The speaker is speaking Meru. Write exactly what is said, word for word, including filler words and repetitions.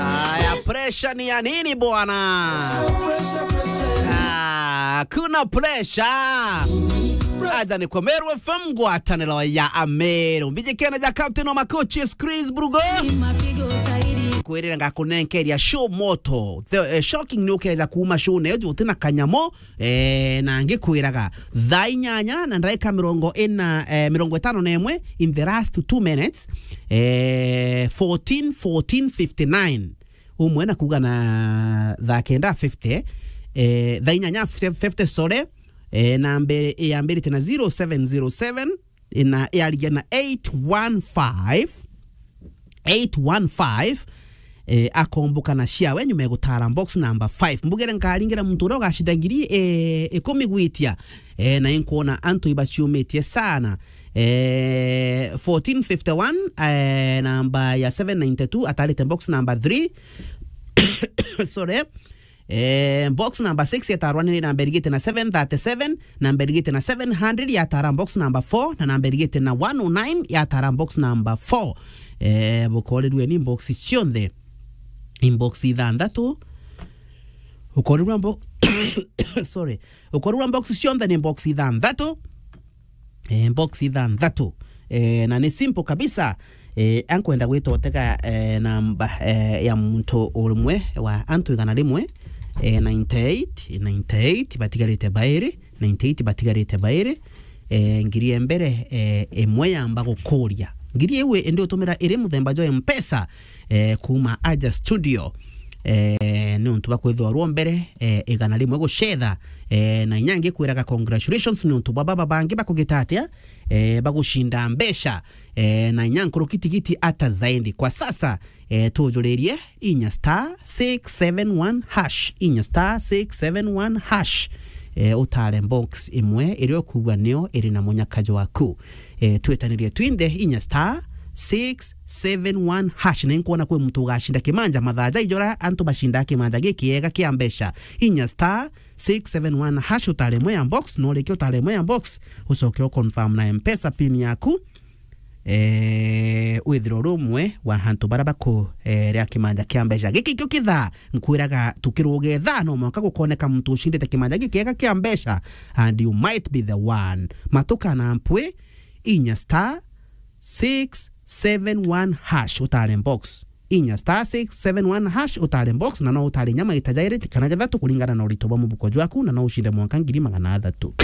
Aya, pressure ni ya nini bwana? Ah, kuna pressure. Aja ni kwa Meru F M, ngwataniro ya Ameru. Mbijikene ja captain wa makochi, Chris Brugo. Kwirira ngakunenkeria show moto. The, eh, shocking ni ukeja kuuma show neyo juti na kanyamo. Eh, na ngikwiraga thaa inyanya na ndagika mirongo ina, eh, mirongo itano na imwe, in the last two minutes, eh, fourteen, fourteen fifty-nine. Umwe na kuuga na thaa kenda fifty, eh, thaa inyanya fifty, sorry, eh, namba yambirite na zero seven zero seven, na yarigia na eight one five, eight one five, eh, akomboka na ciawe nyuma ya gutara box number five. Mbugire nkaringira muntu uria ugacinda ngiri, eh, ikumi gwitia, eh, na inkwona antu ibaciumitie sana. Eh, fourteen fifty-one, eh, namba ya seven ninety-two, atarite box number three. Sorry. Eh, box number six yatarwa ni namba irigite na seven thirty-seven, namba irigite na seven hundred yatara box number four, na namba irigite na one oh nine yatara box number four. Eh, bukorirwe ni box cionthe, in box ithanthatu. Ukorirwa bo-, sorry. Ukorirwa box cionthe ni box ithanthatu. Eh, box ithanthatu. Eh, na ni simple kabisa. Eh, ankwenda gwita utega, eh, namba, eh, ya muntu umwe wa antu igana rimwe, eh, ninety-eight, ninety-eight batigarite bairi, ninety-eight batigarite bairi, eh, ngiri ya mbere, eh, imwe yamba gukuria. Ngiri iu indi utumira iri muthemba jwa Mpesa, eh, kuuma aja studio. Eh, ni untu bwa kwithirwa rwo mbere, eh, igana rimwe gucetha, eh, na inya ngikwiraga congratulations ni untu bwa baba bangi bakugita atia, eh, bagucinda mbeca, eh, na inya nkuruki tigiti ata zaidi. Kwa sasa, eh, tujuririe inya star six seven one hash, inya star six seven one hash, eh, utare box imwe iria ukuuga nio iri na munyaka jwaku. Eh, twitanirie twinthe inya star six seven one hash. Ni nkwona kwi muntu ugacinda kimanja mathaa ja ijora antu bacindaa kimanja gikiega kia mbeca. Inya star six seven one hash utare imwe ya box, na urikia utare imwe ya box, ucoke u confirm na Mpesa pin yaku. Eh, withirwe uri umwe wa antu baria baku, eh, ria kimanja kia mbeca. Giki kio kithaa, nkwiraga tukiruga ithaa, no mwanka gukoneka muntu ucindite kimanja gikiega kia mbeca, and you might be the one. Matuka na mpwi, inya star six seven one hash utare box. Inya star six seven one hash utare box, na no utare inya maita jairi kana jathatu kuringana na urito bwa mubuko jwaku, na no ucinde mwanka ngiri magana athatu.